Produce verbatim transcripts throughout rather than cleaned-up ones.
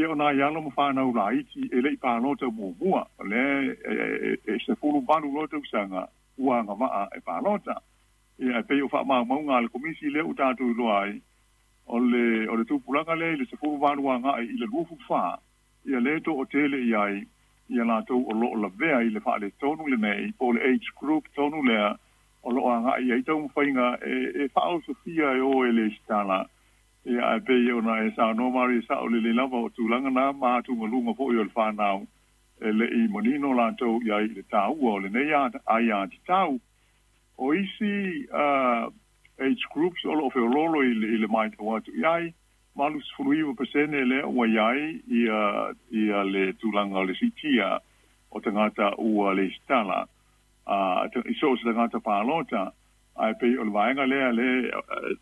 Ia o nai alo ma fanau laiti e le i palota muamua, o lea e, e, e sefulu valu loa tausaga ua agavaa e palota. Ia e pei o faamaumauga a le Komisi lea ua tatou iloa ai, o le o le tupulaga lea i le sefulu valu agai i le luafulu fa, ia lea toatele i ai ia latou o loo lavea i le faaletonu lenei, po o le age group tonu lea o loo agai ai taumafaiga e, e faaosofia e o e le resitala. Ia ae pei ona e saunoa Mari, sao lelei lava o tulaga na ma atugaluga foi o le fanau e le i manino latou i ai i le taua o lenei aiatatau. O isi uh, age groups o loo feololo i le, i le matau atu i ai, valusefulu iva pasene lea ua i ai ia, ia le tulaga o le siitia o tagata ua lesitala uh, i so o se tagata palota. Ae pei o le vaega lea le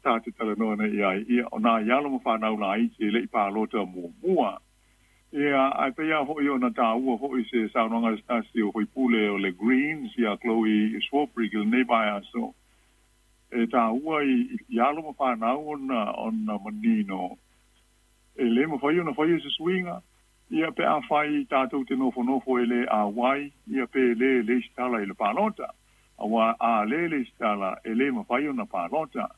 ta te talanoa nei i ai, ia o nai alo ma fanau laiti e le i palota muamua. Ia ae pei a foi ona taua foi se saunoaga se tasi o faipule o le Greens ia Chloe Swarbrick i lenei vaiaso, e taua i, i alo ma fanau ona ona manino e le mafai ona faia se suiga ia pe a fai tatou te nofonofo e le auai ia pe le lesitala i le palota, auā a le lesitala e le mafai ona palota.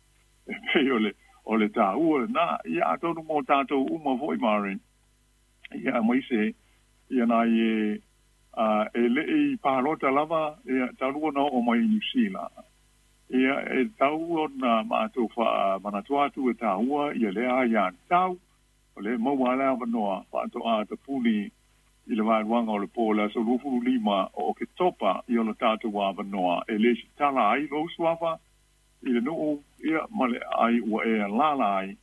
E pei o le o le taua lena. Ia atonu mo tatou uma foi, Mari, ia aemaise ia nai e uh, e le i palota lava ia talu ona oo mai Niu Sila. Ia e tau ona matou faamanatu atu e taua ia lea aiatatau o le maua le avanoa faatoa tapuni i le vaeluaga o le po le aso luafulu lima o Oketopa i ona tatou avanoa e lesitala ai lou suafa i le nuu ia ma le ai ua e alala ai.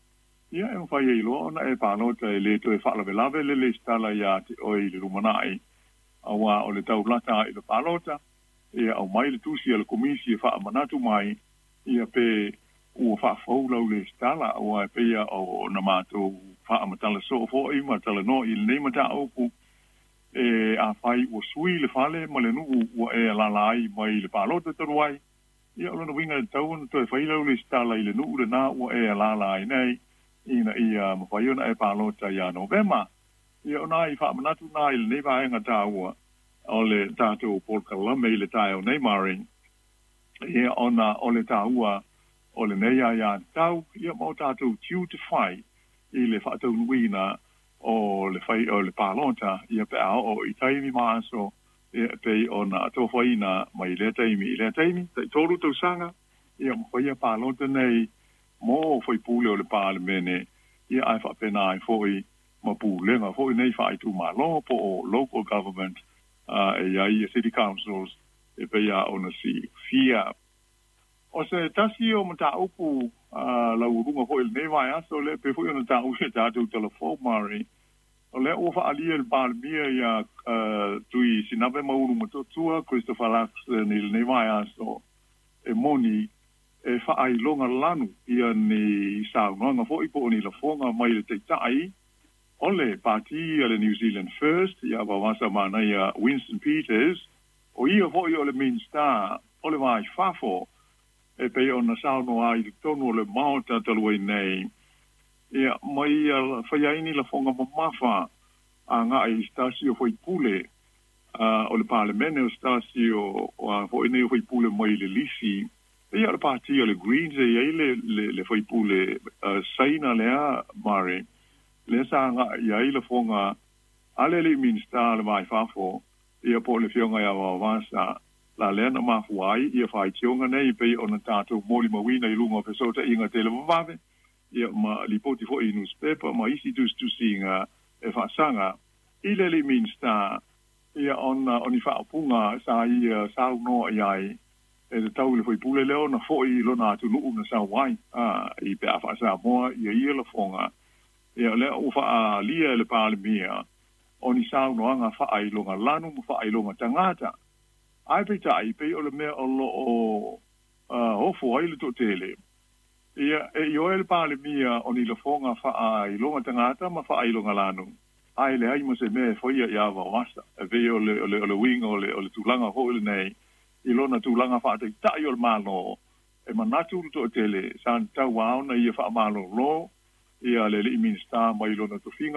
Ia e mafai ai loa ona e palota, e le toe faalavelave le lesitala iā te oe i le lumanai, auā o le taulata i le palota. Ia aumai le tusi a le Komisi e faamanatu mai ia pe ua faafou lau lesitala, auā e pei o na matou faamatala soo foi ma talanoa i lenei mataupu, e afai ua sui le fale ma le nuu ua e alala ai mai le palota talu ai, ia o lona uiga e tatau ona toe fai lau lesitala i le nuu lenā ua e alala ai nei ina ia mafai ona e palota iā Novema. Ia ona i faamanatu na i lenei vaega taua o le tatou polokalame i le taeao nei, Mari, ia ona o le taua o lenei aiatatau ia ma o tatou tiute fai i le faataunuuina o le fai o le palota ia pe a oo i taimi ma aso ia pei ona atofaina mai lea taimi i lea taimi taitolu tausaga ia mafaia palota nei mo faipule o le Palemene, ia ae faapena ai foi ma pulega foi nei faaitumalo po o local government uh, e i ai city councils e pei a ona silafia. O se tasi o mataupu uh, laualuga foi i lenei vaiaso le pe foi ona taua i tatou talafou, Mari, o lea ua faaalia e le Palemia ia uh, Tui Sinafe ma Ulumotootua Christopher Luxon i lenei vaiaso e moni e faailoga lanu ia ni saunoaga foi po o ni lafoga mai le taitai o le pati a le New Zealand First ia Vaovasamanaia Winston Peters, o ia foi o le Minista o le Va i Fafo, e pei ona saunoa ai i totonu o le Maota talu ai nei ia mai ia faia ai ni lafoga mamafa agai i se tasi o faipule uh, o le Palemene, o se tasi o, o a foi nei o faipule mai le lisi ia o le pati o le Greens e i ai le, le, le faipule uh, Saina lea, Mari, lea sa agai i ai lafoga a le alii Minista le Va i Fafo ia po o le afioga ia Vaovasa la lea na mafua ai ia faitioga nei pei ona tatou molimauina i luga o fesootaiga televavave ia ma lipoti foi i newspaper ma isi tusitusiga e faasaga i le alii Minista ia ona o ni faaupuga sa ia saunoa i ai e tatau i le faipule lea ona fo'i i lona atunuu na sau ai a i pe a faasamoa ia ia lafoga. Ia lea ua faaalia e le Palemia o ni saunoaga faailoga lanu ma faailoga tagata, ae peitai pei o le mea o loo uh, ofo ai le toatele ia e ioe le Palemia o ni lafoga faailoga tagata ma faailoga lanu, ae leai ma se mea e faia iā Vaovasa. E pei o le, o le, o le uiga o le, o le tulaga foi lenei i lona tulaga faataitai o le Malo, e manatu le toatele sa tatau ona ia faamalōlō ia le alii Minista mai lona tofiga.